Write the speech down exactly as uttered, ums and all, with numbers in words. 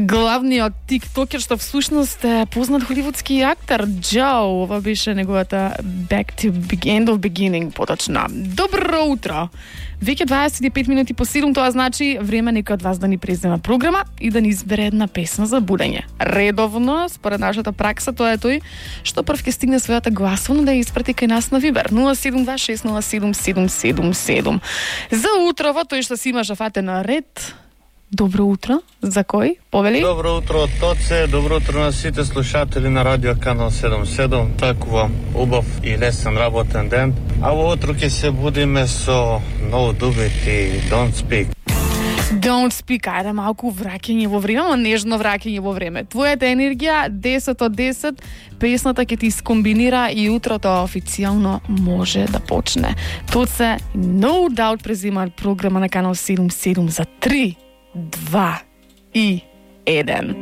Главниот тиктокер што всушност е познат холивудски актер Джо, ова беше неговата Back to End of Beginning поточна. Добро утро. Веќе дваесет и пет минути по седум, тоа значи време некој од вас да ни презема програма и да ни избере една песна за будење. Редовно, според нашата пракса, тоа е тој што прв ќе стигне својата гласовна да ја испрати кај нас на Вибер нула седум два шест нула седум седум седум седум. За утрово, тој што си има жафате на ред. Добро утро. За кој? Повели? Добро утро од Тоце, добро утро на сите слушатели на Радио Канал седум седум. Такувам убав и лесен работен ден. А во утро ќе се будиме со No Do It и Don't Speak. Don't Speak, ајде малку враќање во време, но нежно враќање во време. Твојата енергија десет од десет, песната ќе ти скомбинира и утрото официјално може да почне. Тоце No Doubt презимаат програма на Канал седум седум за три, два и еден.